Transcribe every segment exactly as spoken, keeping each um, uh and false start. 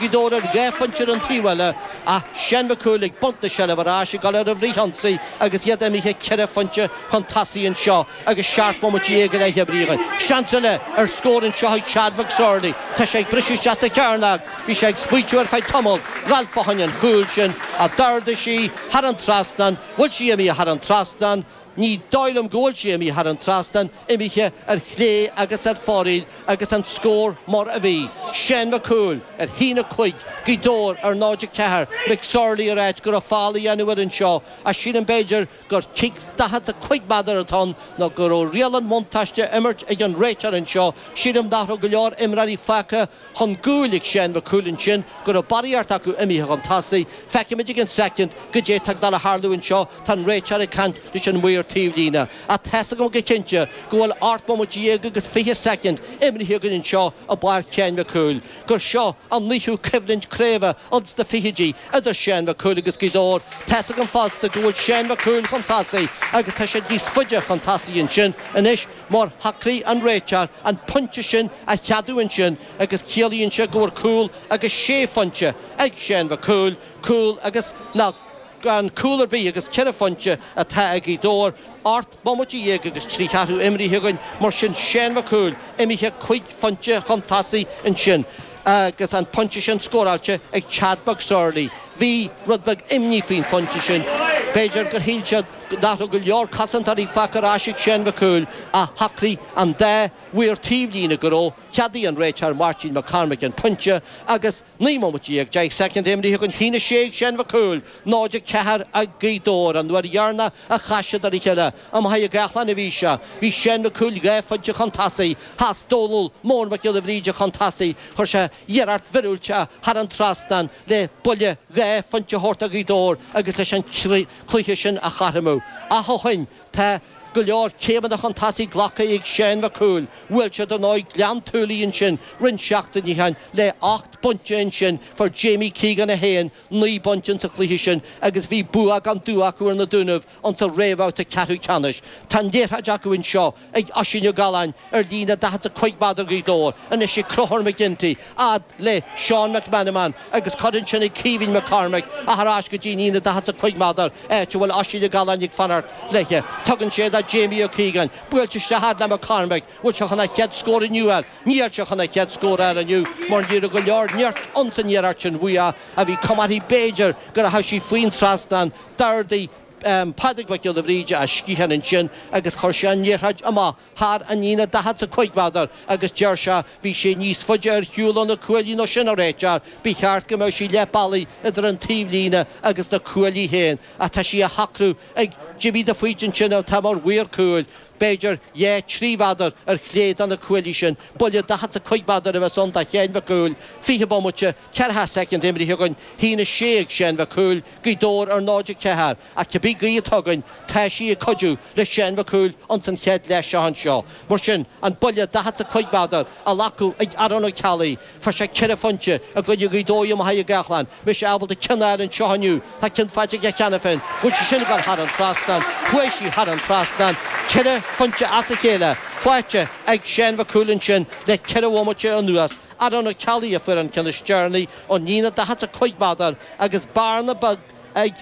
Gaoth Dobhair ar dhá phointe ar an taobh eile ach Seán Mac Cumhaill ag baint na seilbhe ar ais ag dul ar an bhfrithionsaí agus iad imithe ceithre phointe chun tosaigh anseo agus seacht mbomaite déag go leith imrithe againn. Seans eile ar scór anseo ag Chad McSorley. Tá sé ag briseadh isteach sa chearnóg. Bhí sé ag smaoitiú ar feadh tamaill. Ralph fá choinne an chúil sin ach d'ardaigh sí thar an trasnán. Bhfuil sí imithe thar an trasnán? Ní dóigh liom go bhfuil sí imithe thar an trasnán, imithe ar chlé agus ar fóraoil agus an scór mar a bhí. Seán Mac Cumhaill ar haon a cúig, Gaoth Dobhair ar náid a ceathair, McSorley ag ráit go raibh feall á dhéanamh air anseo ach sílim b'fhéidir gur cic daichead is a cúig méadar atá ann nó go raibh riail an bhuntáiste á imirt ag an réiteoir anseo. Sílim nach raibh go leor imreoirí fágtha chun gcúil ag Seán Mac Cumhaill ansin, go raibh barraíocht acu imithe chun tosaigh. Feicfimid ag an soicind goidé tá ag dul a tharlú anseo. Tá an réiteoir ag caint leis an maor taobhlíne. Ach tá's agam go cinnte go bhfuil ocht mbomaite dhéag agus fiche soicind imrithe againn anseo i bPáirc Sheáin Mhic Cumhaill, gur seo an naoú coimhlint craoibhe ins na fichidí idir Seán Mac Cumhaill agus Gaoth Dobhair. Tá's agam fosta go bhfuil Seán Mac Cumhaill chun tosaigh agus tá siad níos faide chun tosaigh ansin anois mar shocraigh an réiteoir an pointe sin a cheadú ansin agus ciallaíonn sé go bhfuil cúl agus sé phointe ag Seán Mac Cumhaill, cúl agus nach gan cúl ar bith agus ceithre phointe atá ag Gaoth Dobhair. Ocht mbomaite dhéag agus trí cheathrú imrithe againn, mar sin Seán Mac Cumhaill imithe cúig phointe chun tosaigh ansin agus an pointe sin scóráilte ag Chad McSorley. Bhí rud beag imní faoin phointe sin. B'fhéidir gur shíl siad nach raibh go leor cosantóirí fágtha ar ais ag Seán Mac Cumhaill ach shocraigh an dá mhaor taobhlíne go raibh. Cheadaigh an réiteoir Máirtín Mac Cormaic an pointe agus naoi mbomaite dhéag deich soicind imrithe againn a haon a sé ag Seán Mac Cumhaill, náid a ceathair ag Gaoth Dobhair, an uair dheireanach a chas siad ar a chéile i Machaire Gathlán a bhí sé. Bhí Seán Mac Cumhaill dhá phointe chun tosaigh. Sheas Dónal Mór Mac Giolla Bhríde chun tosaigh. Chuir sé iarracht mhíorúilteach thar an trasnán le buille dhá phointe a thabhairt do Ghaoth Dobhair agus leis an cluiche sin a chothromú. Ach ó shin tá go leor céimeanna chun tosaigh glactha ag Seán Mac Cumhaill. Bhuail siad ar ndóigh Gleann tSúilí ansin roinnt seachtainí ó shin le ocht bpointe ansin. Fuair Jamie Keegan a haon, naoi bpointe insa chluiche sin agus bhí bua gan dua acu ar na Dúnaibh insa réamhbhabhta ceathrú ceannais. Tá an liathróid acu anseo ag Oisín Ó Galláin ar líne daichead is a cúig méadar Ghaoth Dobhair. Anois ag Conchúr McGinty, fhad le Seán McMenamin agus cuireann sin ag Caoimhín McCormack ach ar ais go dtí an líne daichead is a cúig méadar, áit a bhfuil Oisín Ó Galláin ag fanacht léithe. Tugann sé do Jamie Ó Cíogáin. Buailte isteach fhad le McCormack. Bhfuil sé chun a chéad scór inniu a fháil? Níl sé chun a chéad scór a fháil inniu mar ní raibh go leor nirt ionsan iarracht sin uaidh a bhí cuma uirthi b'fhéidir go rachaidh sí faoin trasnán. D'ardaigh Pádraig Mac Giolla Bhríde a sciathán ansin agus chuir sé an liathróid amach thar an líne daichead is a cúig méadar agus deir sé bhí sé níos faide ar shiúl ó na cuaillí ná sin a réiteoir, ba cheart go mbeadh sí leath bealaigh idir an taobhlíne agus na cuaillí féin ach tá sí á shocrú ag Jimmy de Faoite ansin atá mar mhaor cúil, b'fhéidir dhá trí mhéadar ar chlé de na cuaillí sin. Buille daichead is a cúig méadar a bheas ann do Sheán Mac Cumhaill. Fiche bomaite, ceathracha soicind imrithe againn, haon a sé ag Seán Mac Cumhaill, Gaoth Dobhair ar náid a ceathair. Ach cibé gaoth atá againn, tá sí ag cuidiú le Seán Mac Cumhaill ins an chéad leath seo anseo. Mar sin, an buille daichead is a cúig méadar á ghlacadh ag Aaron Ó Ceallaigh. Fuair sé ceithre phointe i gcoinne Ghaoth Dobhair i Machaire Gathlán. Beidh sé ábalta ceann a fháil anseo inniu. Tá ceann faighte aige cheana féin. Bhfuil sí sin ag dul thar an trasnán? Chuaigh sí thar an trasnán. Ceithre phointe as a chéile faighte ag Seán Mac Cumhaill ansin le ceithre bhomaite anuas. Aaron Ó Ceallaigh a fuair an ceann is deireanaí ón líne daichead is a cúig méadar agus bearna beag ag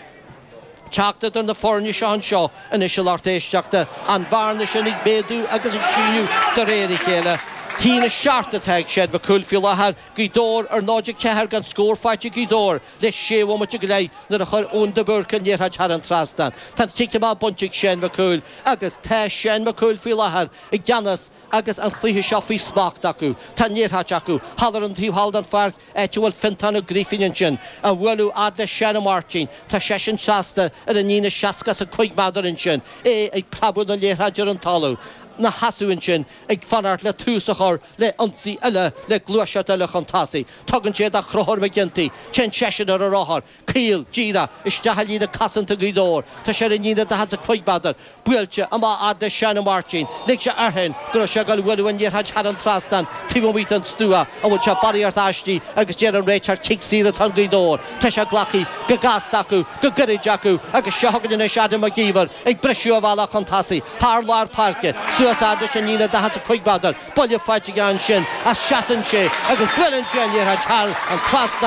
teacht idir na foirne seo anseo anois a lucht éisteachta, an bhearna sin ag méadú agus ag síneadh de réir a chéile. Haon a seacht atá ag Seán Mac Cumhaill faoi láthair, Gaoth Dobhair ar náid a ceathair gan scór faighte ag Gaoth Dobhair le sé bhomaite go leith nuair a chuir Eoin de Búrca an liathróid thar an trasnán. Tá an cic amach bainte ag Seán Mac Cumhaill agus tá Seán Mac Cumhaill faoi láthair i gceannas agus an cluiche seo faoi smacht acu. Tá an liathróid acu thall ar an taobh thall den pháirc, áit a bhfuil Fintán Ó Grífín ansin, á bhualadh fhad le Seán Ó Máirtín. Tá seisean seasta ar an líne seasca is a cúig méadar ansin, é ag preabadh na liathróide ar an talamh, 'na sheasamh ansin ag fanacht le tús a chur le ionsaí eile, le gluaiseacht eile chun tosaigh. Tugann sé do Chonchúr McGinty. Téann seisean ar a rothar. Caol, díreach, isteach i líne cosanta Ghaoth Dobhair. Tá sé ar an líne daichead is a cúig méadar. Buailte amach fhad le Seán Ó Máirtín. Lig sé air féin go raibh sé ag dul a bhualadh an liathróid thar an trasnán taobh amuigh den stua. An bhfuil sé barraíocht aisti agus deir an réiteoir cic saor atá do Ghaoth Dobhair. Tá sé glactha go gasta acu, go gairid acu agus seo chugainn anois Adam Mac Íomhair ag briseadh a bhealach chun tosaigh thar lár páirce. Suas Suas ard leis an líne daichead a cúig méadar. Buille faighte ansin as seasann sé agus buaileann sé an liathróid thar an trasnán.